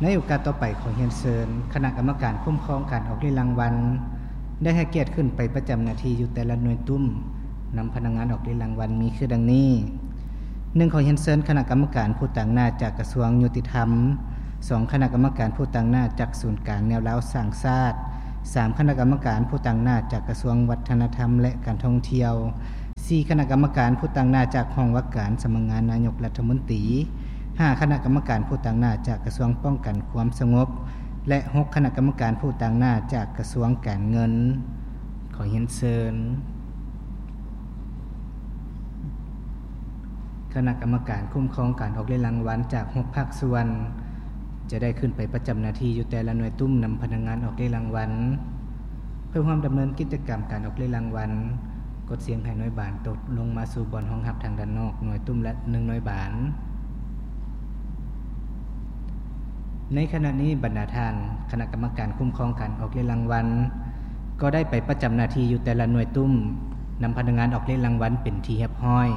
ໃນໂອກາດຕໍ່ໄປ ຂໍຮຽນເຊີນຄະນະກຳມະການຄຸ້ມຄອງການອອກເລກລາງວັນ ໄດ້ໃຫ້ກຽດຂຶ້ນໄປປະຈຳໜ້າທີ່ຢູ່ແຕ່ລະໜ່ວຍຕຸ້ມ ນຳພະນັກງານອອກເລກລາງວັນມີຄືດັ່ງນີ້: ໜຶ່ງ ຂໍຮຽນເຊີນຄະນະກຳມະການຜູ້ຕາງໜ້າຈາກກະຊວງຍຸຕິທຳ, ສອງ ຄະນະກຳມະການຜູ້ຕາງໜ້າຈາກສູນກາງແນວລາວສ້າງຊາດ, ສາມ ຄະນະກຳມະການຜູ້ຕາງໜ້າຈາກກະຊວງວັດທະນະທຳ ແລະ ການທ່ອງທ່ຽວ, ສີ່ ຄະນະກຳມະການຜູ້ຕາງໜ້າຈາກຫ້ອງວ່າການສຳນັກງານນາຍົກລັດຖະມົນຕີ, ຫ້າ ຄະນະກຳມະການຜູ້ຕາງໜ້າຈາກກະຊວງປ້ອງກັນຄວາມສະຫງົບ ແລະ ຫົກ ຄະນະກຳມະການຜູ້ຕາງໜ້າຈາກກະຊວງການເງິນ. ຂໍຮຽນເຊີນຄະນະກຳມະການຄຸ້ມຄອງການອອກເລກລາງວັນຈາກຫົກພາກສ່ວນ ຈະໄດ້ຂຶ້ນໄປປະຈຳໜ້າທີ່ຢູ່ແຕ່ລະໜ່ວຍຕຸ້ມນຳພະນັກງານອອກເລກລາງວັນ ເພື່ອຮ່ວມດຳເນີນກິດຈະກຳການອອກເລກລາງວັນ. ກົດສ່ຽງໃຫ້ໜ່ວຍບານຕົກລົງມາສູ່ບ່ອນຮອງຮັບທາງດ້ານນອກ ໜ່ວຍຕຸ້ມລະໜຶ່ງໜ່ວຍບານ. ໃນຂະນະນີ້ ບັນດາທ່ານຄະນະກຳມະການຄຸ້ມຄອງການອອກເລກລາງວັນ ກໍໄດ້ໄປປະຈຳໜ້າທີ່ຢູ່ແຕ່ລະໜ່ວຍຕຸ້ມ ນຳພະນັກງານອອກເລກລາງວັນເປັນທີ່ຮຽບຮ້ອຍ.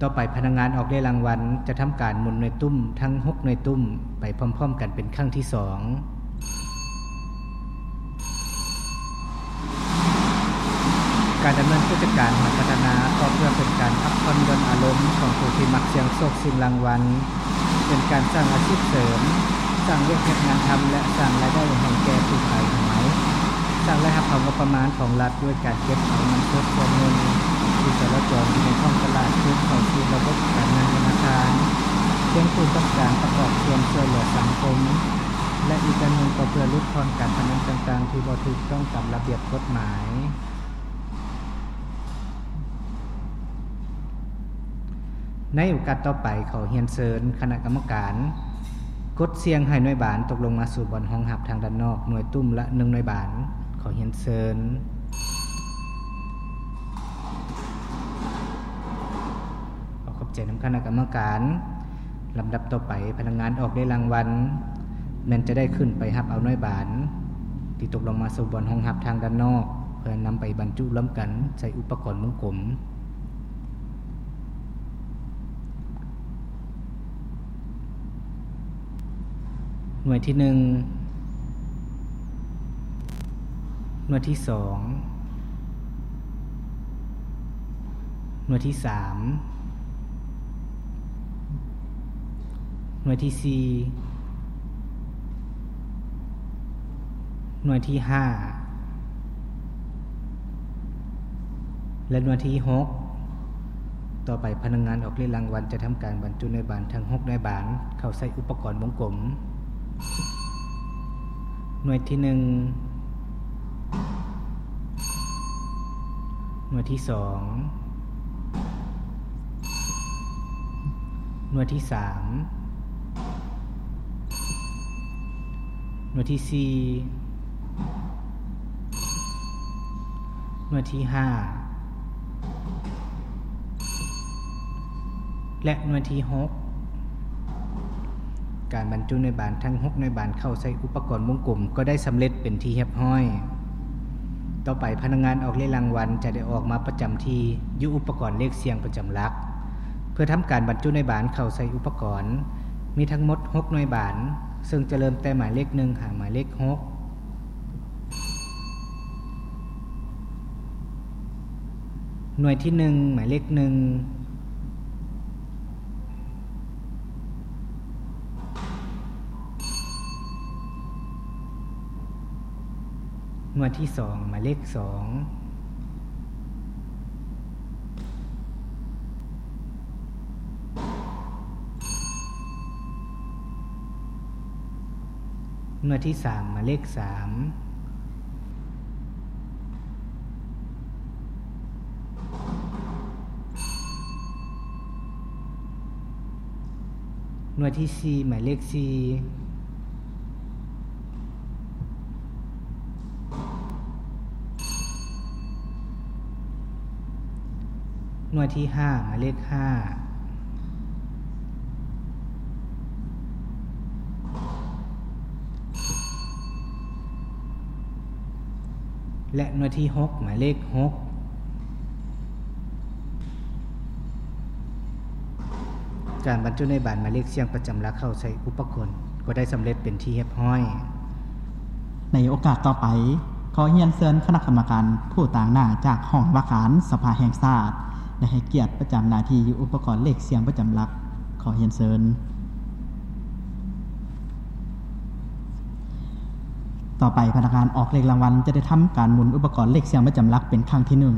ຕໍ່ໄປພະນັກງານອອກເລກລາງວັນຈະທຳການໝູນໜ່ວຍຕຸ້ມທັງຫົກໜ່ວຍຕຸ້ມໄປພ້ອມໆກັນເປັນຄັ້ງທີສອງ. ການດຳເນີນກິດຈະການຫອພັດທະນາກໍເພື່ອເປັນການພັກຜ່ອນຢ່ອນອາລົມຂອງຜູ້ທີ່ມັກສ່ຽງໂຊກສ່ຽງລາງວັນ, ເປັນການສ້າງອາຊີບເສີມ, ສ້າງວຽກເຮັດງານທຳ ແລະ ສ້າງລາຍໄດ້ໃຫ້ແກ່ຜູ້ຂາຍຫວຍ, ສ້າງລາຍຮັບເຂົ້າງົບປະມານຂອງລັດດ້ວຍການເກັບເອົາເງິນສົດສ່ວນໜຶ່ງທີ່ຈະລະຈອງຢູ່ໃນທ້ອງຕະຫຼາດຄືນເຂົ້າສູ່ລະບົບການເງິນທະນາຄານ, ເປັນຜູ້ປະການປະກອບສ່ວນຊ່ວຍເຫຼືອສັງຄົມ ແລະ ອີກຢ່າງໜຶ່ງກໍເພື່ອຫຼຸດຜ່ອນການພະນັນຕ່າງໆທີ່ບໍ່ຖືກຕ້ອງຕາມລະບຽບກົດໝາຍ. ໃນໂອກາດຕໍ່ໄປ ຂໍຮຽນເຊີນຄະນະກຳມະການກົດສ່ຽງໃຫ້ໜ່ວຍບານຕົກລົງມາສູ່ບ່ອນຮອງຮັບທາງດ້ານນອກ ໜ່ວຍຕຸ້ມລະໜຶ່ງໜ່ວຍບານ. ຂໍຮຽນເຊີນ. ຂໍຂອບໃຈນຳຄະນະກຳມະການ. ລຳດັບຕໍ່ໄປ ພະນັກງານອອກເລກລາງວັນແມ່ນຈະໄດ້ຂຶ້ນໄປຮັບເອົາໜ່ວຍບານທີ່ຕົກລົງມາສູ່ບ່ອນຮອງຮັບທາງດ້ານນອກ ເພື່ອນຳໄປບັນຈຸລວມກັນໃສ່ອຸປະກອນວົງກົມ. ໜ່ວຍທີໜຶ່ງ, ໜ່ວຍທີສອງ, ໜ່ວຍທີສາມ, ໜ່ວຍທີສີ່, ໜ່ວຍທີຫ້າ ແລະ ໜ່ວຍທີຫົກ. ຕໍ່ໄປພະນັກງານອອກເລກລາງວັນຈະທຳການບັນຈຸໜ່ວຍບານທັງຫົກໜ່ວຍບານເຂົ້າໃສ່ອຸປະກອນວົງກົມ. ໜ່ວຍທີໜຶ່ງ, ໜ່ວຍທີສອງ, ໜ່ວຍທີສາມ, ໜ່ວຍທີສີ່, ໜ່ວຍທີຫ້າ ແລະ ໜ່ວຍທີຫົກ. ການບັນຈຸໜ່ວຍບານທັງຫົກໜ່ວຍບານເຂົ້າໃສ່ອຸປະກອນວົງກົມກໍໄດ້ສຳເລັດເປັນທີ່ຮຽບຮ້ອຍ. ຕໍ່ໄປພະນັກງານອອກເລກລາງວັນຈະໄດ້ອອກມາປະຈຳທີ່ຢູ່ອຸປະກອນເລກສ່ຽງປະຈຳຫຼັກ ເພື່ອທຳການບັນຈຸໜ່ວຍບານເຂົ້າໃສ່ອຸປະກອນ. ມີທັງໝົດຫົກໜ່ວຍບານ, ເຊິ່ງຈະເລີ່ມແຕ່ໝາຍເລກໜຶ່ງຫາໝາຍເລກຫົກ. ໜ່ວຍທີໜຶ່ງ ໝາຍເລກໜຶ່ງ, ໜ່ວຍທີສອງ ໝາຍເລກສອງ, ໜ່ວຍທີສາມ ໝາຍເລກສາມ, ໜ່ວຍທີສີ່ ໝາຍເລກສີ່, ໜ່ວຍທີຫ້າ ໝາຍເລກຫ້າ ແລະ ໜ່ວຍທີຫົກ ໝາຍເລກຫົກ. ການບັນຈຸໜ່ວຍບານໝາຍເລກສ່ຽງປະຈຳຫຼັກເຂົ້າໃສ່ອຸປະກອນ ກໍໄດ້ສຳເລັດເປັນທີ່ຮຽບຮ້ອຍ. ໃນໂອກາດຕໍ່ໄປ, ຂໍຮຽນເຊີນຄະນະກຳມະການຜູ້ຕາງໜ້າຈາກຫ້ອງວ່າການສະພາແຫ່ງຊາດ ໄດ້ໃຫ້ກຽດປະຈຳໜ້າທີ່ຢູ່ອຸປະກອນເລກສ່ຽງປະຈຳຫຼັກ. ຂໍຮຽນເຊີນ. ຕໍ່ໄປ, ພະນັກງານອອກເລກລາງວັນຈະໄດ້ທຳການໝູນອຸປະກອນເລກສ່ຽງປະຈຳຫຼັກເປັນຄັ້ງທີໜຶ່ງ.